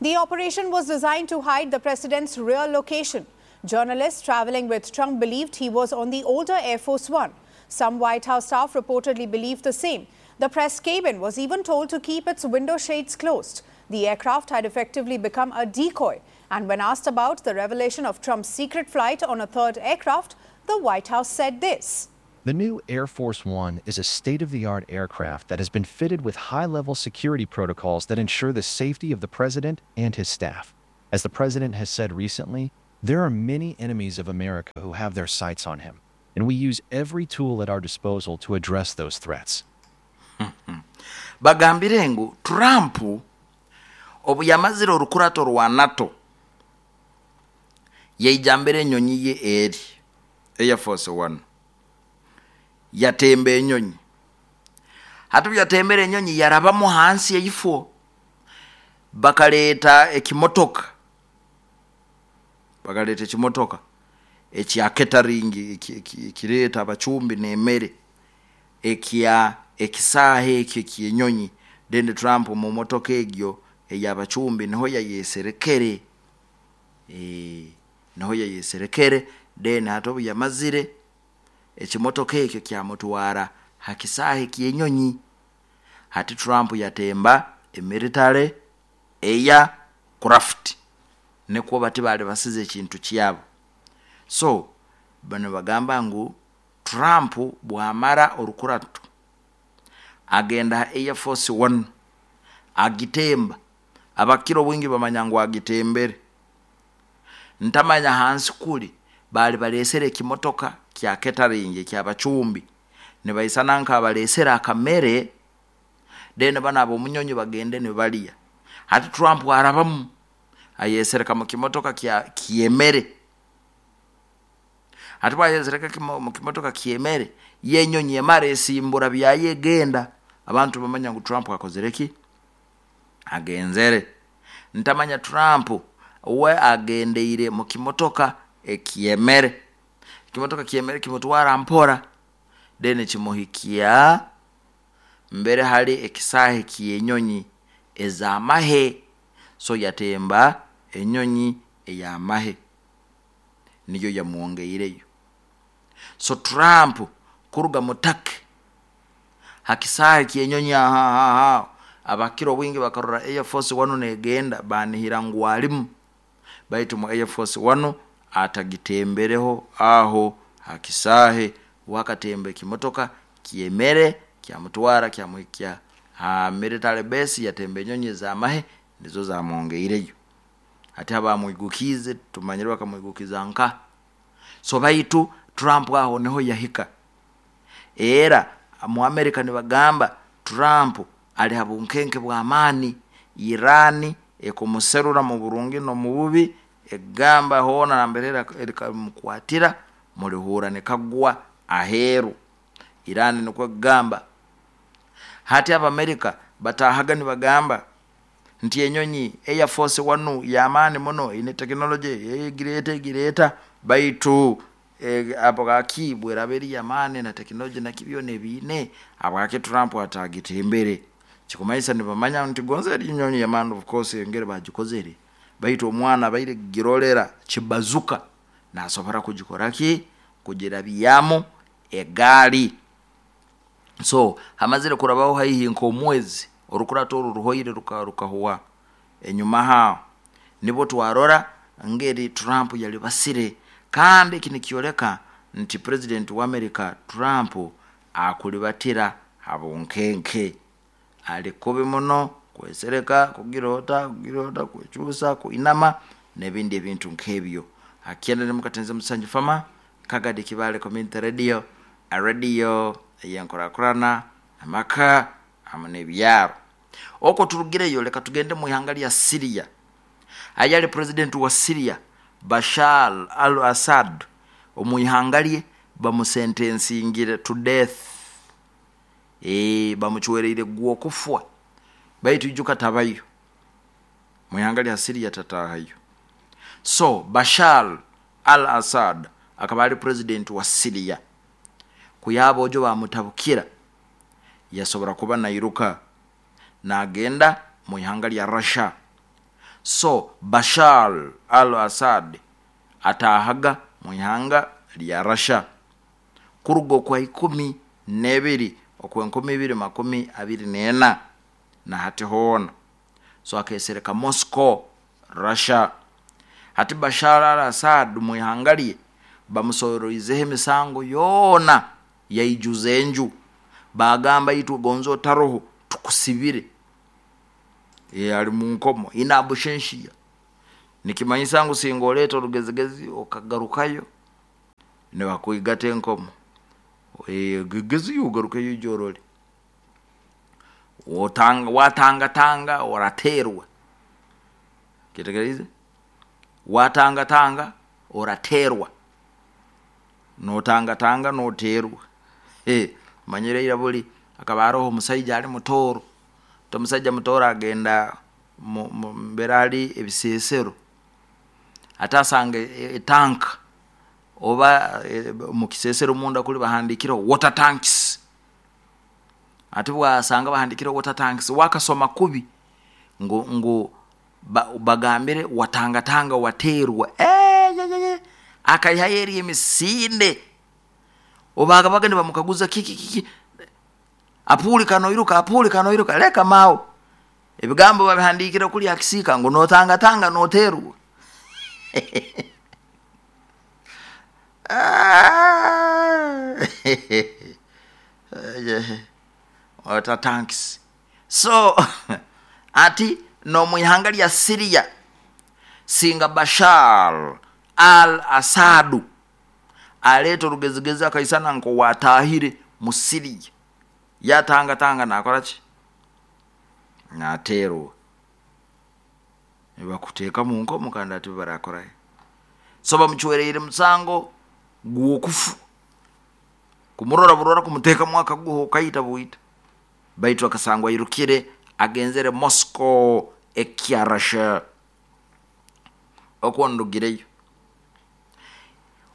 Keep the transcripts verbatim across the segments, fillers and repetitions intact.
The operation was designed to hide the president's real location. Journalists traveling with Trump believed he was on the older Air Force One. Some White House staff reportedly believed the same. The press cabin was even told to keep its window shades closed. The aircraft had effectively become a decoy. And when asked about the revelation of Trump's secret flight on a third aircraft, the White House said this. The new Air Force One is a state-of-the-art aircraft that has been fitted with high-level security protocols that ensure the safety of the president and his staff. As the president has said recently, there are many enemies of America who have their sights on him, and we use every tool at our disposal to address those threats. Bagambire ngu Trump obu yamazire orukurato rwa NATO, yaijambire enyonyi ye eri Air Force One, yatemba enyonyi. Hati yatembera enyonyi, yarabamu hansi eifo, bakaleeta ekimotoka bakaleeta ekimotoka ekya catering, ekireeta abacumbi n'emmere, ekya ekisaaha ekyo ekyenyonyi. Then Trump mu motoka egyo ey'abacumbi niho yayeserekere, e, niho yayeserekere. Then hati obu yamazire, ekimotoka ekyo kyamutwara ha kisaaha ekyenyonyi. Hati Trump yatemba emilitary aircraft, nikwo bati bali basize ekintu kyabo. So bano bagamba ngu Trump bwamara orukurato, agenda ha Air Force One, agitemba. Abakiro bwingi bamanya ngu agitembere. Ntamanya hansi kuli bali balesere ekimotoka kya catering ekyabacumbi, nibaisana nka abalesere akamere, then bana abomunyonyi bagende nibalya. Hati Trump arabamu, ayesereka mu kimotoka kya kyemere. Hati bwayesereka mu kimotoka kyemere, yenyonyi emara esimbura byayegenda, abantu bamanya ngu Trump akozere ki, agenzere. Ntamanya Trump we agendeire mu kimotoka ekyemere. Ekimotoka kyemere kimutwara mpora, then kimuhikia mbere hari ekisaahe kyenyonyi ez'amahe. So yatemba enyonyi ey'amahe, niyo yamwongeireyo. So Trump kuruga mutake hakisaahe kyenyonyi aha, abakiro bwingi bakarora Air Force One negenda, banihira ngu alimu, baitu mu Air Force One atagitembereho aho hakisahe. Wakatemba ekimotoka kyemere, kyamutwara, kyamuhikya ha military base. Yatemba enyonyi z'amahe, nizo zamwongeireyo. Ati abamwigukize tumanyire bakamwigukiza nka. So baitu Trump aho niho yahika. Era mu America nibagamba Trump ali ha bunkenke bw'amaani. Irani ekumuserura mu burungi no mu bubi, egamba hoona nambere erikamukwatira mulihura nekagwa aheeru. Irani nikwo kugamba. Hati Abamerika batahaga nibagamba nti enyonyi Air Force One yamaani muno, ine tekinology egireta egireta, baitu e, abwaki bweraba eri yamaani na tekinology naki byona ebiine, abwaki Trump atagitembere? Kikumanyisa nibamanya nti gonza eri nyonyi yamaani, of course, engeri bagikozere, baitu omwana abaire girolera kibazuka nasobora kugikora ki, kugirabyamu egaali. So hamazire kurabaho haihi nk'omwezi, orukurato oru ruhoire rukahuwa enyuma hao, nibo twarora ngeri Trump yali basire. Kandi eki nikyoleka nti president wa America Trump akulibatira habunkenke, ali kubi muno kwesereka, kugirota kugirota, kwekyusa, kuinama n'ebindi ebintu nk'ebyo. Akyenda nimukatenze Musanju Fama Kagadi Kibale Community Radio, radio eyenkurakurana amaka hamwe n'ebyaro. Okwo turugireyo, leka tugende mu ihanga lya Syria. Ayali president wa Syria Bashar al-Assad, omu ihanga lye bamusentensingire to death, e, bamucwereire gw'okufwa, baitu ijuka tabayo mu ihanga lya Syria, tatahayo. So Bashar al-Assad akaba ali president wa Syria, kuyaba ojo bamutabukira, yasobora kuba nairuka nagenda mu ihanga lya Russia. So Bashar al-Assad atahaga mu ihanga lya Russia kuruga okwa ikumi n'ebiri okwenkumi ibiri makumi abiri n'ena na hati hoona. So akesereka Moscow, Russia. Hati Bashar al-Assad mu ihanga lye bamusoroizeho emisango yoona yaijuza enju, bagamba itwe gonza otaroho tukusibire. E, ali mu nkomo inabushenshia nikimanyisa ngu singa oleeta orugezigezi okagarukayo nibakwigata enkomo. E, gegezi ugarukeyo ijorole otanga watangatanga oraterwa kitegereize watangatanga oraterwa notangatanga noterwa. Hey, manyire ira buli akaba aroho omusaija ali mutoro omusaija mutoro agenda mbere ali ebisesero ate asanga etanka oba e, mukisesero munda kuli bahandikireho water tanks. Ate bwasanga bahandikireho water tanks wakasoma kubi ngu, ngu ba, bagambire watangatanga waterwa. Eh, ye, ye, ye. Akaihayo eri emisinde obaga bagende bamukaguza kiki kiki apuli kanoiruka apuli kanoiruka leka mao ebigambo babihandikire kuli akisika ngu notangatanga noterwa. Water tanks. So ati no muihanga lya Syria singa Bashar al-Assad aleta orugezigezi akaisana nko watahire mu Syria yatangatanga nakora ki naterwa nibakuteeka mu nkomo kandi ati barakora. So bamuchwereire musango gwokufu kumurora burora kumuteka mwaka guho kaita buita baitu akasangwa irukire agenzere Moscow ekya Russia okwo ndugireyo.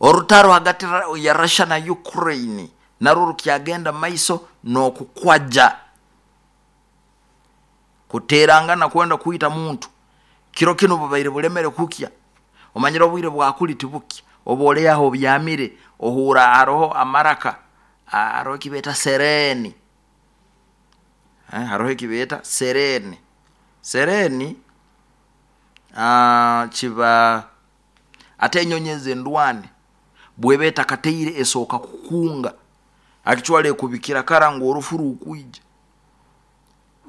Orutaro hagati ya Russia na Ukraine narwo rukyagenda maiso nokukwaja kuterangana kwenda kuita muntu kiro kino bubaire bulemere kukya omanyira obwire bwakuli tibukya oboleyaho obyamire ohura aroho amaraka aroho kibeta sereni. Eh, haroho kibeta sereni sereni ah, kiba ate enyonyi endwane bwebeta kateire esoka kukunga akichwale kubikira kara ngo orufuru ukuija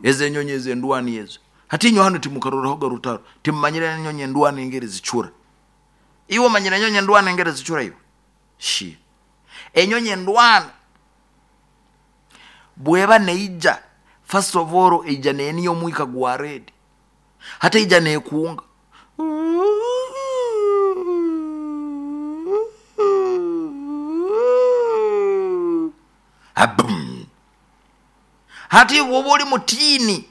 eze enyonyi endwani ezo hati inyo hano timukarorahoga rutaro timmanyira enyonyi endwani engeri zichura iwe manyira enyonyi endwani engeri zichura iwe shi enyonyi endwani bweba neija first of all ija neniyo omwika gwa red hata ija nekunga abum hati woba oli mutini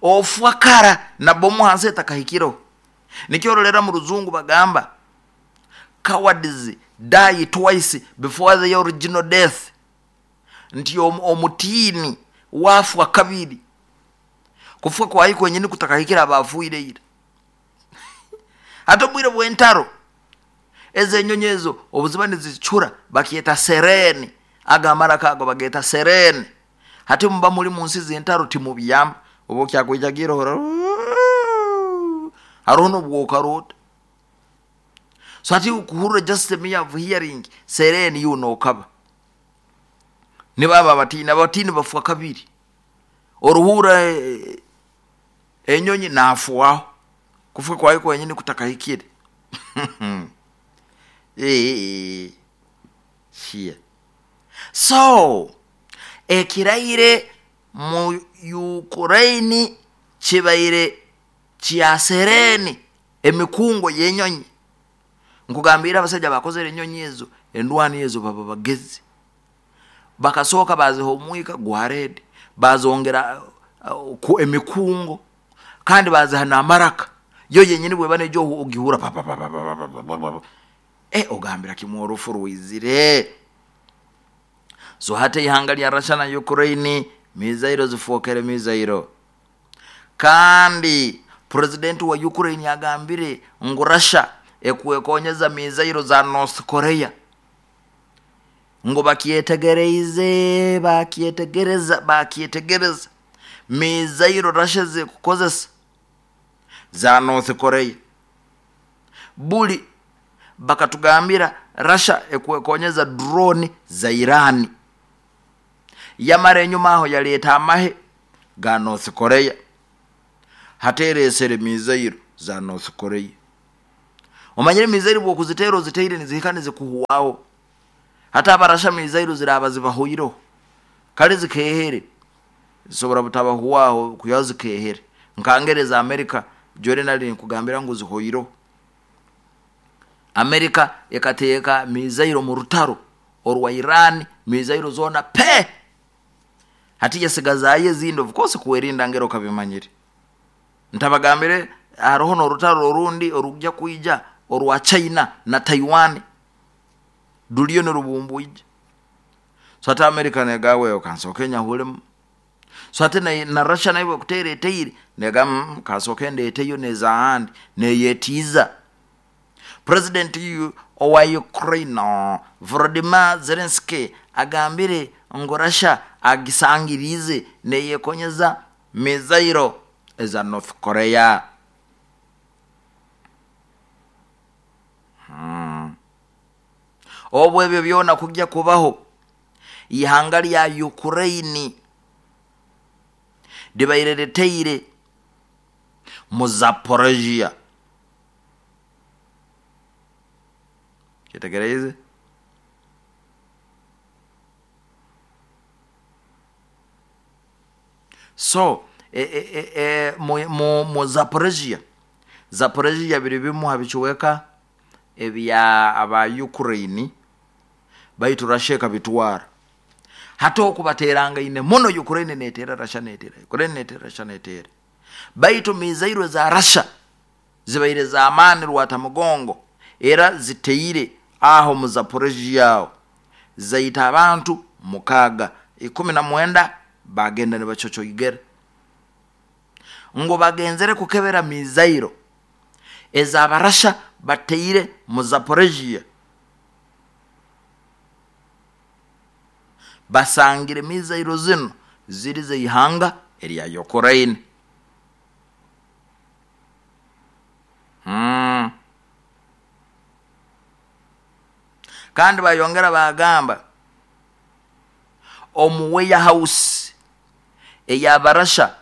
ofwa kara na bomu hansi etakahikiro nikyorolera mu ruzungu bagamba cowards die twice before the original death nti omutini wafwa kabiri kufwa kwayi kwenyini kutakahikira abafuire ira. Hata obwire bw'entaro ezo enyonyi ezo obuziba nizichura bakyeta sereni agamara kago bageta sereni. Hati muba muri mu nsi z'entaro timubyama obo kyakwijagira hora haroho n'obwokarota. So hati ukuhurra just a mere of hearing sereni yuno okaba nibaba abatini abatini bafwa kabiri oruhura enyonyi nafuaho kufwa kwayo kwenyini kutakahikire. Eh, shia. So ekiraire mu Ukraine kibaire kya sereni emikungo y'enyonyi nkugambira abasajja bakozere enyonyi ezo endwani ezo baba bagezi bakasoka baziha omwika gwa red bazongera uh, ku emikungo kandi baziha n'amaraka yo yenyini bweba nejo ogihura pa pa pa pa pa pa eh ogambira kimwe orufu rwizire. So hata ihanga lya Russia na Ukraine mizairo zifokere mizairo kandi President wa Ukraine agambire ngu Russia ekwekonyeza mizairo za North Korea, ngu bakyetegereize bakyetegereza bakyetegereza mizairo Russia zikukozesa za North Korea. Buli bakatugambira Russia ekwekonyeza drone za Iran, yamara enyuma aho yaleta amahe ga North Korea, hateresere mizairo za North Korea. Omanyire mizairo bwokuzitera oziteire nizihika nizikuhuwaho, hata abarasha mizairo ziraba zibahuireho kale zikehere zisobora butabahuwaho kuya zikehere. Nkangereza Amerika jore nali nkugambira ngu zihoireho. Amerika ekateeka mizairo mu rutaro orwa Iran, mizairo zona pe hati yasigazaye ezindi of course kuwerinda ngero kabimanyire. Ntabagambire haroho n'orutaro orundi orujya kwija orwa China na Taiwan duliyo n'orubumbuije. So ate Amerika negawe kansoke nyahulemu. So ate na, na Russia nayo kutere eteire nega mm, kansoke ndeteyo nezahandi neyetiza. President owa Ukraine Volodymyr Zelensky agambire ngu Russia agisangirize neyekonyeza mizairo eza North Korea. Hmm. Obwo ebyo byona kujja kubaho, ihanga lya Ukraine libaire mu Zaporozhia. Kitegereze so e, e, e, mu, mu, mu Zaporozhia Zaporozhia biri bimu habichiweka ebya aba Ukraine baitu Russia kabitwara. Hata okubateranga ine muno Ukraine netera Russia netera Ukraine netera Russia netera, baitu mizairo za Russia zibaire za amani rwatamugongo era ziteire aho mu Zaporozhia zaita abantu mukaga ikumi na mwenda bagenda ne bachocho igere ngo bagenzere kukebera mizairo ezabarasha bateire mu Zaporozhia, basangire mizairo zino ziri zeihanga erya Ukraine. Hmm. Kandi bayongera bagamba omu warehouse eyabarasha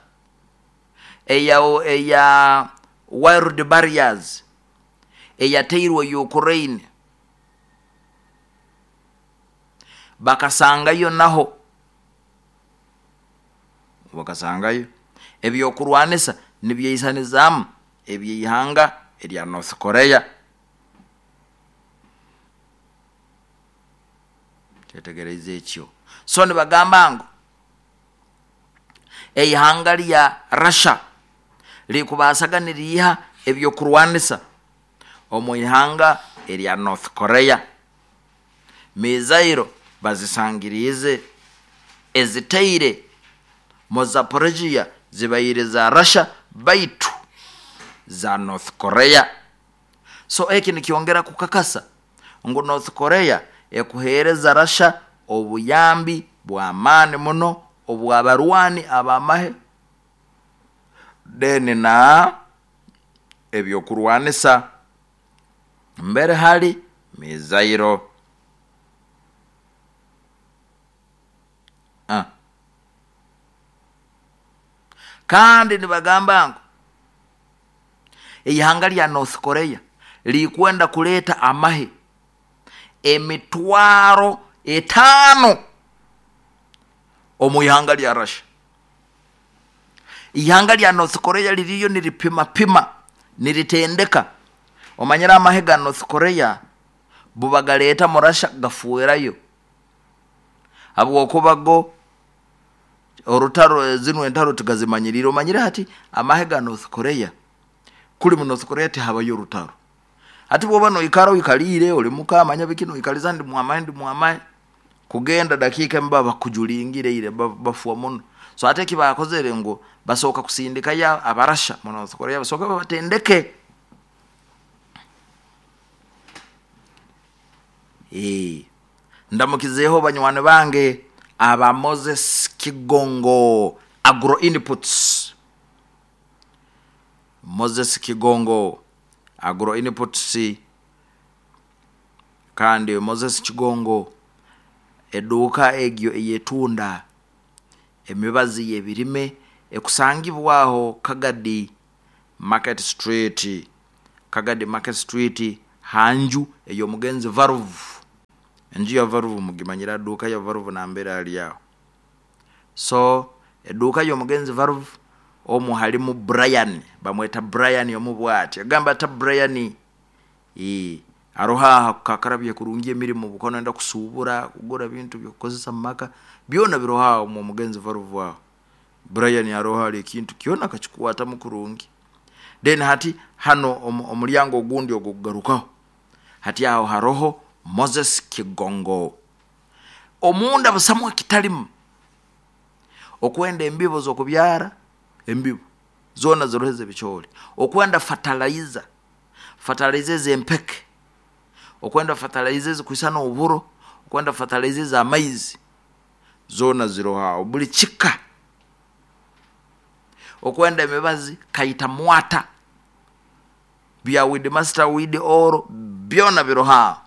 eya eya wild barriers eyateirwe Ukraine bakasangayo naho bakasangayo ebyokurwanisa nibyeisanizamu ebyihanga erya North Korea. Tetegereze ekyo. So nibagamba ngu eihanga lya Russia likubasaga niriha ebyokurwanisa omu ihanga erya North Korea. Mizairo bazisangirize eziteire mu Zaporozhia zibaire za Russia baitu za North Korea. So eki nikiongera kukakasa ngu North Korea ekuhereza Russia obuyambi bw'amaani muno obw'abarwani abamahe deni na ebyokurwanisa mbere hali mizairo. Ah. Kandi nibagamba ngu ihanga lya North Korea likwenda kuleta amahe emitwaro etano omu ihanga lya Russia. Ihanga lya North Korea liriyo niripima pima niritendeka. Omanyira amahe ga North Korea bubagaleta mu Russia gafuerayo abwokubago orutaro zinu entaro tugazimanyirira. Omanyira hati amahe ga North Korea kuli mu North Korea tihabayo rutaro. Hati bwoba noikara oikalire oli mukamanya bikino ikaliza ndi mwamaye ndi mwamaye kugenda dakika mbaba kujulingire ile bafuwa muno. So ate kibakozere ngo basoka kusindika ya abarasha mu North Korea basoka babatendeke. Eh ndamukizeho banywane bange aba Moses Kigongo Agro Inputs. Moses Kigongo Agro Inputs, kandi Moses Kigongo eduka egyo eyetunda emibazi y'ebirime ekusangibwaho Kagadi Market Street, Kagadi Market Street hanju eyo mugenzi Varuvu, enju ya Varuvu mugimanyira duka ya Varuvu nambera ali aho. So eduka yo mugenzi Varuvu omu halimu Brian, bamweta Brian yomubwati agamba ta Brian eh aroha kakarabye kurungi emirimu bukono enda kusubura kugura bintu byokozesa maka byona biroha mu mugenzi Varuvu aho. Brian aroha ali kintu kyona kachikuwata mukurungi. Then hati hano omulyango ogundi ogugarukaho hati aho haroho Moses Kigongo omunda busamwa kitalimu okwenda embibo zokubyara embibo zona ziroheze bicholi, okwenda fertilizer fertilizer zempeke, okwenda fertilizer zikuisana oburo, okwenda fertilizer za maize zona ziroha buli chika, okwenda emibazi kaita mwata bya with master with oro byona biroha,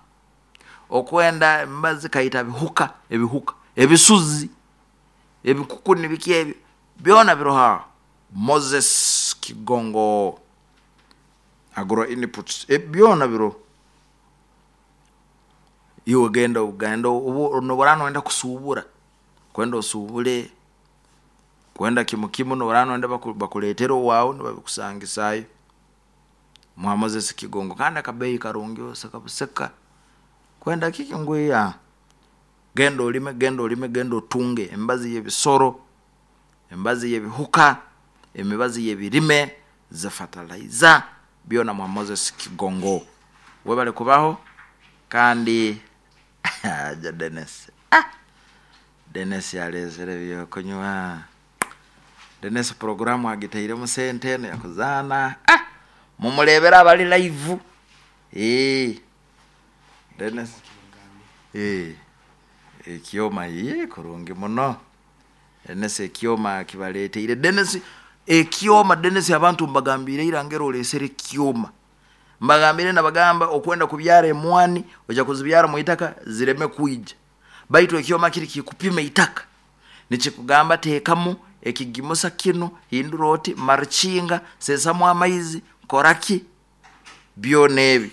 okwenda emibazi kaita bihuka ebihuka ebisuzi ebikukuni biki ebyo byona biroha. Moses Kigongo Agro Inputs e byona biro iwe genda ugenda ubu noborano enda kusubura kwenda osubule kwenda kimukimu noborano enda bakuletera wawo nibabikusangisayo mwa Moses Kigongo kandi akabeyi karungi oseka buseka kwenda kiki ngwiya genda olime genda olime genda otunge embazi y'ebisoro embazi y'ebihuka emibazi y'ebirime ze fertilizer byona mwa Moses Kigongo webale kubaho. Kandi ja Dennis ah Dennis yalezere byokunywa Dennis programu agitaire mu sente eno yakuzana ah mumulebera abali live eh Dennis eh ekyoma ye kurungi muno Dennis ekyoma kibaleteire Dennis ekyoma Dennis abantu mbagambire irangero olesere kyoma mbagambire nabagamba okwenda kubyara emwani oja kuzibyara mu itaka zireme kuija baitu ekyoma kiri kikupima itaka nikikugamba tekamu ekigimusa kino hindura oti marchinga sesamu amaizi koraki byona ebi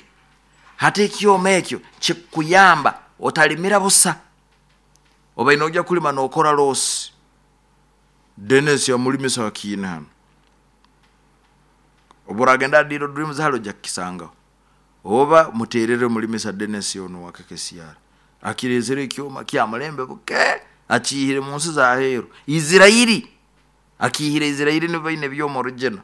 hata ekyoma ekyo kikuyamba otalimira busa oba inoja kulima nokora losi. Dennis ya mulimisa wakina hano oburagenda diro dreams halo jakisanga oba muterere mulimisa Dennis ono wakakesiara akirezere ekyoma kya mulembe buke akihire mu nsi za hero Israeli akihire Israeli nibaine byomo original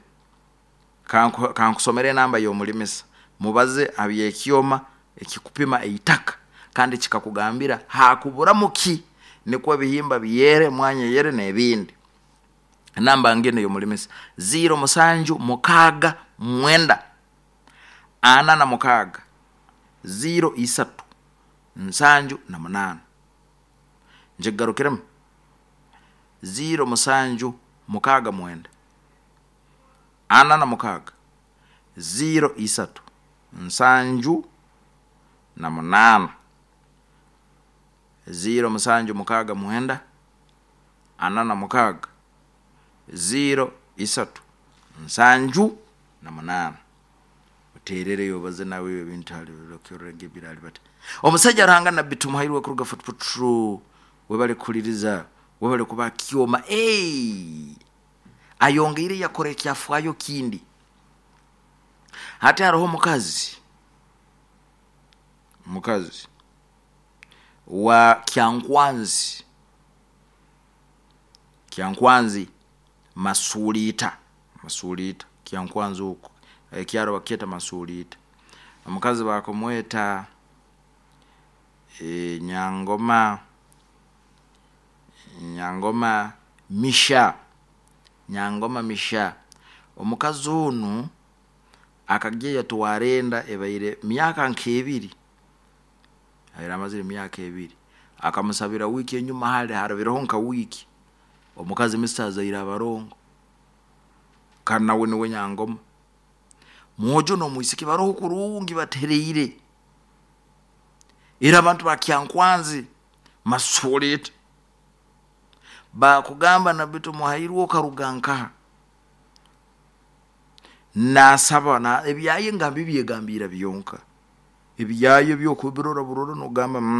kanku kankusomere namba yo mulimisa mubaze abyekyoma ekikupima eitaka kandi kikakugambira hakubura muki nikwo bihimba biyere mwanya yere nebindi. Namba ngene yo mulimisa zero musanju mukaga mwenda ana na mukaga zero isatu nsanju na munana njegarukiremu zero musanju mukaga mwenda ana na mukaga zero isatu nsanju na munana zero musanju mukaga mwenda ana na mukaga zero isatu nsanju na munana uterere yobaze nawe ebintu ali lokyorenge birali bata omusajja Ruhanga Nabbi Tumuhairwe kuruga Fort Portal webale kuliriza webale kuba kyoma eh ayongeire yakora ekyafwayo kindi hati haroho mukazi mukazi wa Kyankwanzi Kyankwanzi Masulita Masulita Kyankwanzi huko ekyaro baketa Masulita omukazi bakomweta e, Nyangoma Nyangoma Misha Nyangoma Misha. Omukazi onu akagya yatwara enda, ebaire myaka nk'ebiri, abaire amazire emyaka ebiri. Akamusabira wiiki enyuma, hali harabireho nka wiiki, omukazi misa azaire abarongo, kandi nawe niwe Nyangoma. Mwojo n'omwisiki baroho kurungi, batereire. Era abantu bakyankwanzi masoleta bakugamba, nabitu muhairwe okaruga nkaha? Nasaba na ebyaye nga mbibyegambiira byonka, ebyaye byokubirora burora nogamba mm.